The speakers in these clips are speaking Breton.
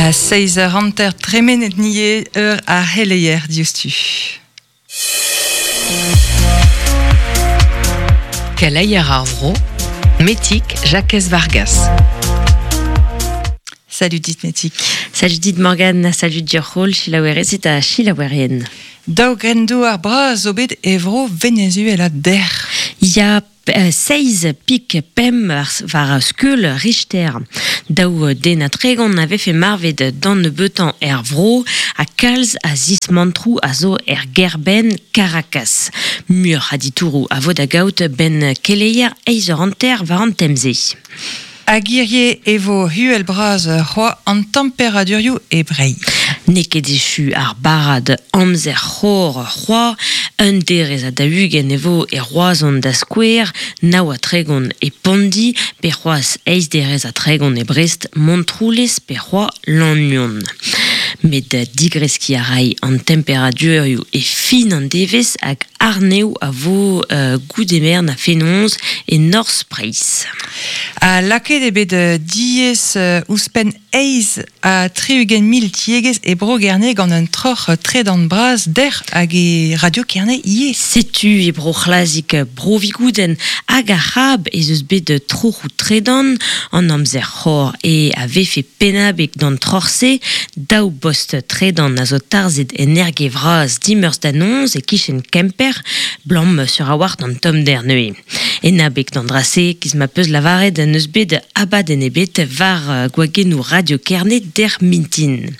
A seizh eur hanter tremenet nie eur ar c'heleier diouzhtu. Keleier ar vro, Metig Jakez Vargas. Salut dit Metig. Salut dit Morgane, salut Diorc'hol, selaouerezed ha selaouerien. Daou grenn-douar bras zo bet e vro Venezuela dec'h. Ya, seizh pik pemp war skeul Richter. Daou den ha tregont a vefe marvet d'an nebeutañ er vro ha kalz a zismantroù a zo er gêr-benn Caracas. Muioc'h a ditouroù a vo da gaout 'benn keleier eizh eur hanter war an tem-se. Hag hirie e vo huel-bras c'hoazh an temperadurioù e Breizh. N'eo ket echu ar barrad amzer c'hor c'hoazh. Un derez ha daou-ugent e vo e Roazhon da skouer, nav ha tregont e Pondi, pe c'hoazh eizh derez ha tregont e Brest, Montroulez pe c'hoazh Lannuon. Met digreskiñ a ray an temperadurioù e fin an devezh hag arnev a vo goude-merenn ha fenoz e norzh Breizh. Ha lakaet eo bet diaes ouzhpenn eizh ha 60 mil tiegezh e Bro-Gerne gant un troc'h tredan bras dec'h hag e Radio Kerne ivez. Setu e Bro-C'hlazig, Bro-Vigoudenn hag ar C'hab ez eus bet troc'hoù tredan. An amzer c'hor e a vefe pennabeg d'an troc'h-se. Daou bost tredan a zo tarzhet en Erge Vras dimeurzh da noz e-kichen Kemper, 'blam sur a-walc'h d'an tommder neuze. En abeg d'an dra-se, 'giz ma 'peus lavaret, n'eus bet abadenn ebet war gwagennoù Radio Kerne dec'h mintin.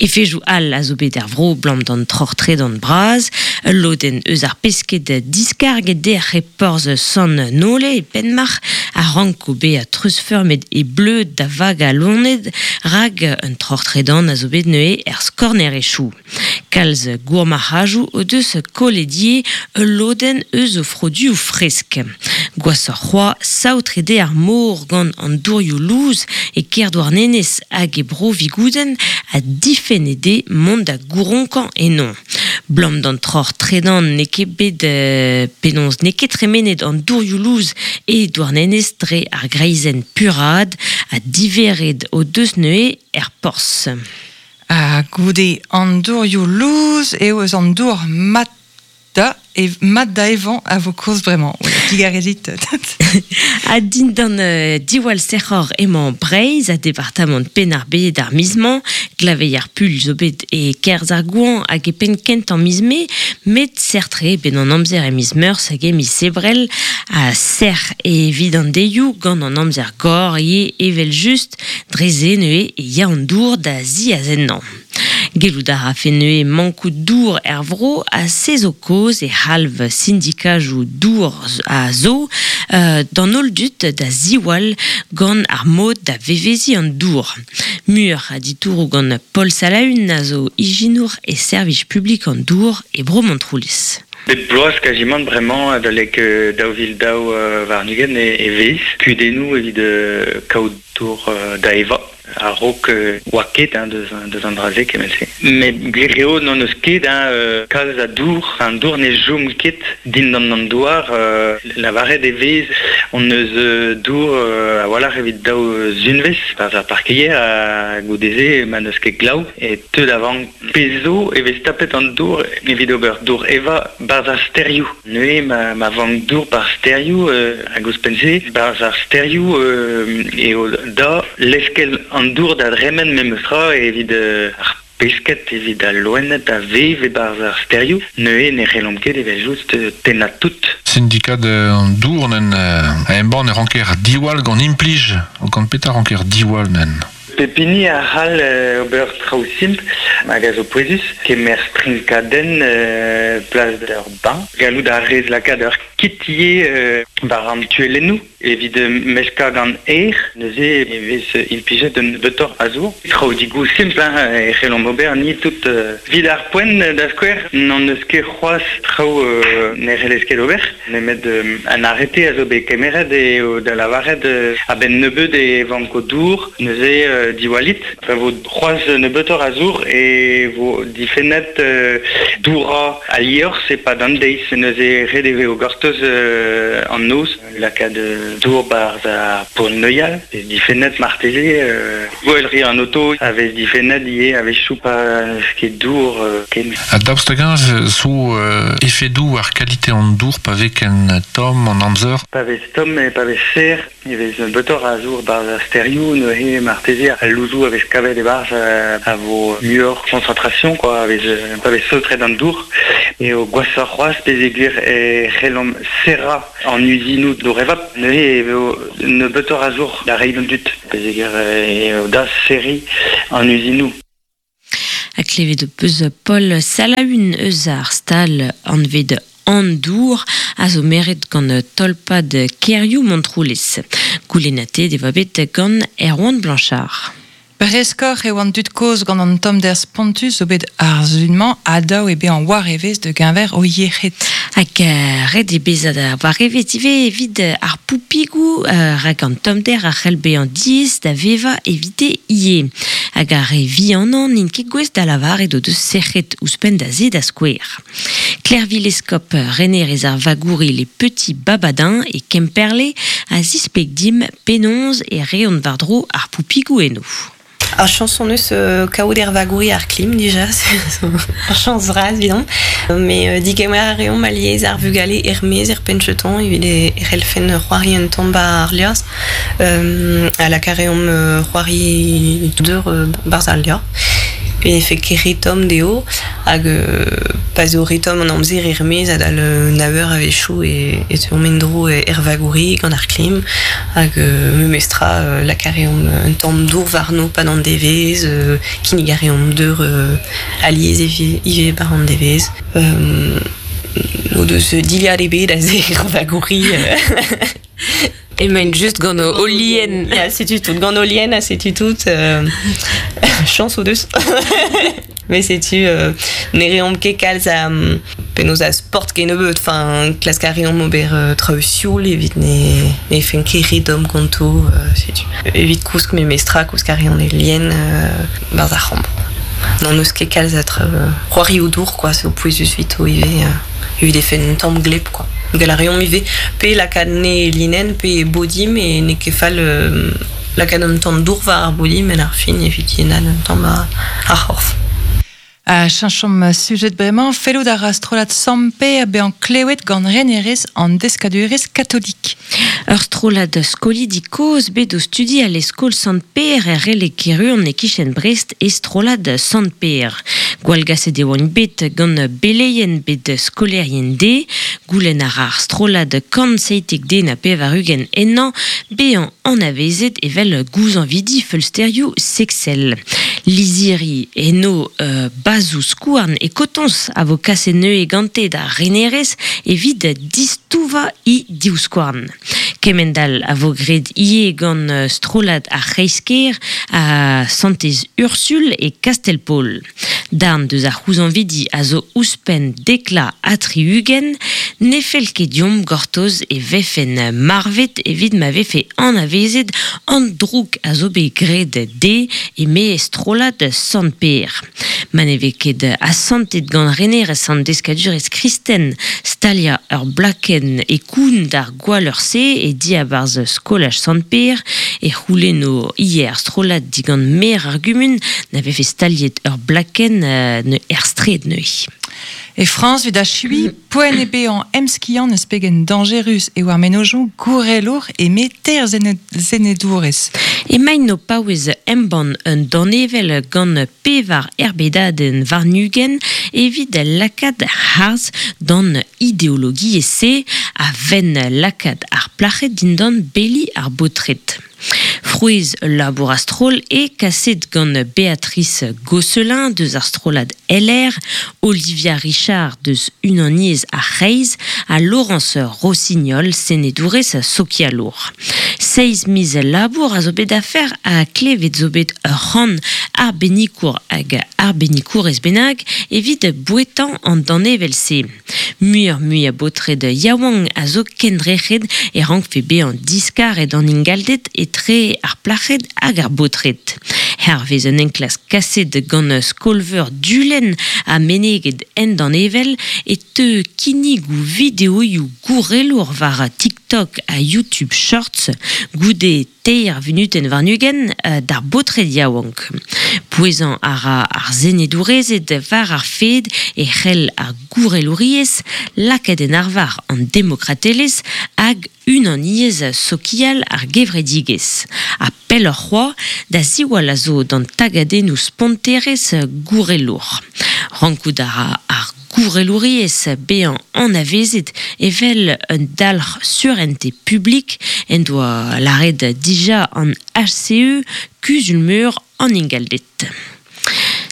Efejoù all a zo bet er vro 'blam d'an troc'h tredan bras. Ul lodenn eus ar pesked diskarget dec'h e porzh Sant Nole e Penmarc'h a ranko bezañ treuzfeurmet e bleud da vagañ loened rak un troc'h tredan a zo bet neuze er skornerezhioù. Kalz gourmarc'hajoù o deus kollet ivez ul lodenn eus o froduoù fresk. Gwashoc'h c'hoazh, saotret eo ar mor gant an dourioù lous e Kerdouarnenez hag e Bro-Vigoudenn ha difennet eo mont da gouronkañ eno. 'Blam d'an troc'h tredan n'eo ket bet penaos n'eo ket tremenet an dourioù lous e Douarnenez dre ar greizenn puraat ha diveret o deus neuze er porzh. Ha goude an dourioù lous eo eus an dour mat da mat da evañ a vo koulz bremañ. Digarezit. Ha dindan diwall sec'hor emañ Breizh ha departamant Penn-ar-Bed ar miz-mañ. Glaveier puilh zo bet e-kerzh ar goañv hag e penn kentañ miz Mae, met serr-tre eo bet an amzer e miz Meurzh hag e miz Ebrel ha sec'h evit an deioù gant an amzer gor ivez evel-just. Dre-se neuze e ya an dour da ziazennañ. Gellout a rafe neuze mankout dour er vro ha se zo kaoz e c'halv sindikajoù dour a zo d'an holl dud da ziwall gant ar mod da veveziñ an dour. Muioc'h a ditouroù gant Paul Salaun a zo ijinour e servij publik an dour e Bro Montroulez. Bep bloaz kazimant bremañ adalek 2022 e vez kudennoù evit kaout dour da evañ a-raok oa ket hein, deus, deus an dra-se kement-se. Met gwir eo n'hon eus ket hein, kalz a dour, an dour ne chom ket dindan an douar. Lavaret e vez hon eus dour a-walc'h evit daou zunvezh barzh ar parkeier ha goude-se ma n'eus ket glav e teu da vank Pezh zo e vez tapet an dour evit ober dour evañ 'barzh ar stêrioù. Neuze ma vank dour 'barzh stêrioù hag ouzhpenn-se 'barzh ar stêrioù eo da leskel an dour da dremen memes tra evit ar pesked, evit al loened a vev e-barzh ar stêrioù. Neuze ne c'hellomp ket evel-just tennañ tout. Sindikad an dour nen a embann e ranker diwall gant implij, gant petra ranker diwall nen? Pep hini a c'hall ober traoù simpl hag a zo pouezus. Kemer strinkadenn plas d'ur bañ. Gallout a rez lakaat ur kit ivez war an tuellennoù evit meskañ gant aer. Neuze e vez implijet un nebeutoc'h a zour. Traoù digoù simpl hein, e c'hellomp ober ni tout. Evit ar poent, da skouer, n'hon eus ket c'hoazh traoù ne c'hellez ket ober. Nemet an arete a zo bet kemeret eo da lavaret a-benn nebeut e vanko dour, neuze diwallit. Pa vo c'hoazh nebeutoc'h a zour e vo difennet dourañ al liorzh e-pad an deiz. Neuze ret e vezo gortoz an noz, lakaat dour barz a pour neuial, vez difennet marteze, gwell ri an auto, a vez difennet ie a vez choupa ket dour ken. A daoust hag-eñ zo efedoù ar kalite an dour pa vez ken tomm an amzer? Pa vez tomm e pa vez ser, e vez betor a zour barz ar sterioù, neuze marteze al louzoù a vez kavet e barz a vo muioc'h concentration, quoi, a vez, pa vez saotret an dour, e o gwasoc'h c'hoazh pezh e gwir e c'hellomp serra an uzinoù dour evap, neuze e vo nebeutoc'h a zour da reiñ d'an dud, pezh e gwir e o da serriñ an uzinoù. Ha klevet ho peus Paul Salaun eus ar stal anvet an dour a zo meret gant tolpad Kerioù Montroulez. Goulennatet e oa bet gant Erwan Blanchard. Breskoc'h eo an dud kozh gant an tommder spontus zo bet ar sun-mañ ha dav eo bezañ war evezh da geñver o yec'hed. Hag ret eo bezañ da war evezh ivez evit ar poupigoù rak an tommder a c'hell bezañ diaes da vevañ evite ivez. Hag ar re vihanañ n'int ket gouest da lavaret o deus sec'hed ouzhpenn da se da skouer. Klervi Lescop, renerez ar vagouri Les Petits Babadins e Kemperle, a zispleg dimp penaos e reont war-dro ar poupigoù eno. Ar chañs hon eus kaout er vagouri ar klim dija, ur chañs vras evidomp. Mais digemer a reomp alies ar vugale er-maez er penn-cheton evit e c'hellfen c'hoari un tamm 'ba ar liorzh. Ha lakaat a reomp c'hoari deur 'barzh al liorzh. E vefe ket re tomm dezho hag pa 'z eo re tomm an amzer er-maez adal nav eur a-wechoù e teuomp en-dro er vagouri gant ar klim hag memestra lakaat a reomp un tamm dour warno 'pad an devezh, kinnig a reomp deur alies ivez 'bar an devezh. O deus dilhad ebet aze er vagouri. Emaint just gant o lien. Ya, setu tout. Gant o lien ha setu tout. Chañs o deus. Mais setu, ne reomp ket kalz a penaos a sport kennebeut. Enfin, klask a reomp ober traoù sioul evit ne ne fen ket re domm ganto. Setu. Evit kousk memestra, kousk a reont e lien 'barzh ar c'hambr. N'hon eus ket kalz a traoù c'hoarioù dour, quoi. C'est pouezus evito ivez. Evit e fenn un tamm gleb, quoi. Gall a reomp ivez pe lakaat ne e linenn pe e bodim e n'eo ket fall lakaat un tamm dour war ar bodim en ar fin evit yennaat un tamm ar c'horf. Ha cheñchomp sujet bremañ, fellout a ra strollad Sant-Pêr bezañ klewet gant renerezh an deskadurezh katolik. Ur strollad skolidi kozh bet o studial e skol Sant-Pêr er Releg-Keruon e-kichen Brest e strollad Sant-Pêr. Gwallgaset e oant bet gant beleien bet skolaerien dezhe. Goulenn a ra ar strollad 197 ennañ bezañ anavezet evel gouzañvidi feulsterioù seksel. Lizhiri eno bazoù-skouarn e kotoñs a vo kaset neuze gante d'ar renerez evit distouvañ he divskouarn. Kemend-all a vo graet ivez gant strollad ar C'hreiz-kêr ha Santez Ursul e Kastell-Paol. Darn deus ar c'houzañvidi a zo ouzhpenn dekla ha 60, ne fell ket deomp gortoz e vefen marvet evit ma vefe anavezet an droug a zo bet graet dezhe eme strollad Sant-Pêr. Ma ne vez ket asantet gant renerezh an deskadurezh kristen staliañ ur blakenn e koun d'ar gwalleur-se e diabarzh skolaj Sant-Pêr e c'houlenno ivez ar strollad digant maer ar gumun na vefe staliet ur blakenn er straed neuze. E Frañs evit achuiñ, poent eo bezañ emskiant eus pegen dañjerus eo ar mennozhioù gourelour eme teir senedourez. Emaint o paouez embann un danevell gant pevar erbedadenn warn-ugent evit lakaat harz d'an ideologiezh-se a venn lakaat ar plac'hed dindan beli ar baotred. Frouezh ul labour a-stroll eo kaset gant Béatrice Gosselin deus ar strollad LR, Olivia Richard deus Unaniezh ar C'hreiz ha Laurence Rossignol, senedourez sokialour. Seizh miz labour a zo bet afer ha klevet zo bet ur c'hant arbennikour hag arbennikourez bennak evit bouetañ an danevell-se. Muioc'h-mui a baotred yaouank a zo kendrec'het e rankfe bezañ diskaret an ingalded etre ar plac'hed hag ar baotred. Hervez un enklask kaset gant skol-veur Dulenn ha meneget en danevell e teu kinnigoù videoioù gourelour war TikTok ha YouTube Shorts goude teir vunutenn warn-ugent d'ar baotred yaouank. Pouezañ a ra ar senedourezed war ar fed e c'hell ar gourelouriezh lakaat en arvar an demokratelezh hag unaniezh sokial ar gevredigezh. Ha pelloc'h c'hoazh, da ziwall a zo d'an tagadennoù sponterezh gourelour. Rankout a ra ar gourelouriezh bezañ anavezet evel un dalc'h surentez publik en doa lâret dija an HCE, Kuzul-meur an Ingalded.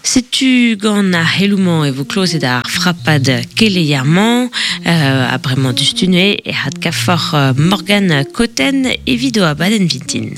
Setu gant ar c'heloù-mañ e vo klozet ar frapad keleier-mañ. Ha bremañ diouzhtu neuze e adkavfoc'h Morgane Cotten evit o abadenn vintin.